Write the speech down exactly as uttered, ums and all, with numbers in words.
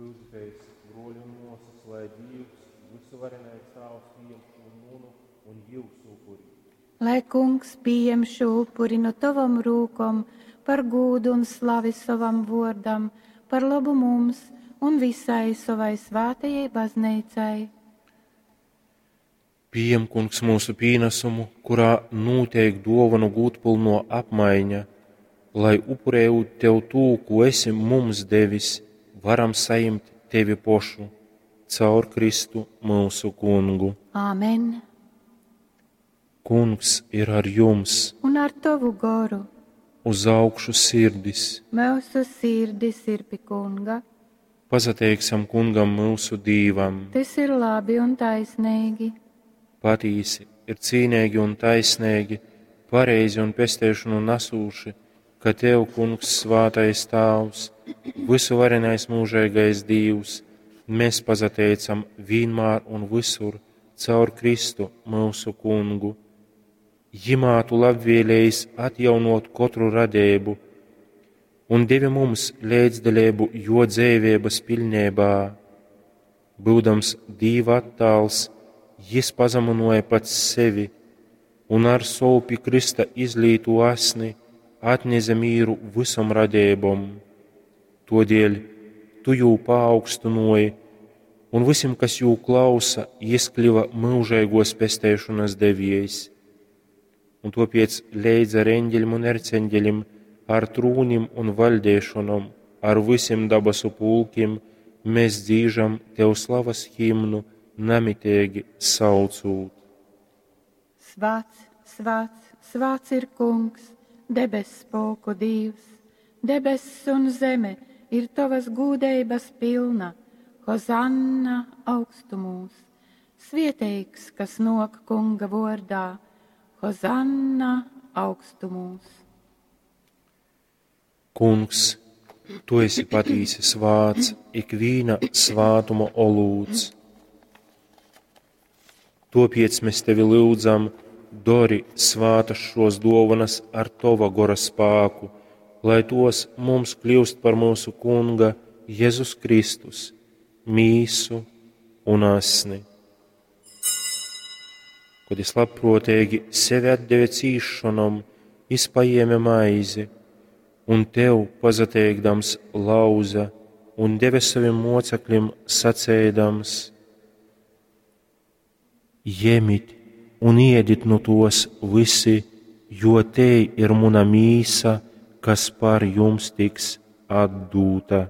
Lyudzitēs, bruoļi un muosys, lai Dīvs, vysuvarenais Tāvs, pījem šū munu un jiusu upuri. Lai Kungs pījem šū upuri nu tovom rūkom par gūdu un slavi sovam vuordam, par lobu mums un visai sovai svātajai bazneicai. Pījem, Kungs, mūsu pīnasumu, kurā nūteik duovonu gūdpylnuo apmaiņa, lai upurējūt tev tū, kū esi mums devis, varam sajimt tevi pošu caur Kristu myusu Kungu. Āmen. Kungs ir ar jums, Un ar tovu goru uz augšu sirdis. Mūsu sirdis ir pi Kunga. Pasateiksim Kungam myusu Dīvam. Tas ir labi un taisnīgi. Patīsi ir cīnīgi un taisnīgi, pareizi un pesteišanu nesūši, ka Tev, Kungs, svātais Tāvs, vysuvarenais mūžīgais Dīvs, mēs pasateicam vienmēr un visur caur Kristu mūsu Kungu. Jimā tu labvēlējis atjaunot katru radību un devi mums līdzdalību jo dzīvības pilnībā. Būdams Dīva attāls, jis pazeminoja pats sevi un ar savu pie Krista izlīto asni atneze mīru visom radībom. Todēļ tu jū paaugstinoji, un visiem, kas jū klausa, jis kļuva mūžīgos pesteišanas deviejs. Un topiec leidz ar eņģeļim un erceņģeļim, ar trūnim un valdēšanom, ar visiem dabasu pulkim, mēs dzīžam tev slavas himnu, namitīgi saucūt. Svāts, svāts, svāts ir Kungs, debess spolku Dīvs, debess un zeme ir tavas gūdeibas pilna, Hozanna augstumūs, svieteigs, kas nok Kunga vordā, Hozanna augstumūs. Kungs, tu esi patīsi svāts, ikvīna svātuma olūts. Topiec mēs tevi lūdzam, dori svātas šos dovanas ar tova gora spāku, lai tos mums kļūst par mūsu Kunga Jēzus Kristus, mīsu un asni. Kad es labprātīgi sevi atdeve cīšanom, es paēma maizi, un tev pazateikdams lauza un deve saviem mocekļiem sacēdams: Jemit un iedit nu tos visi, jo te ir muna mīsa, kas par jums tiks atdūta.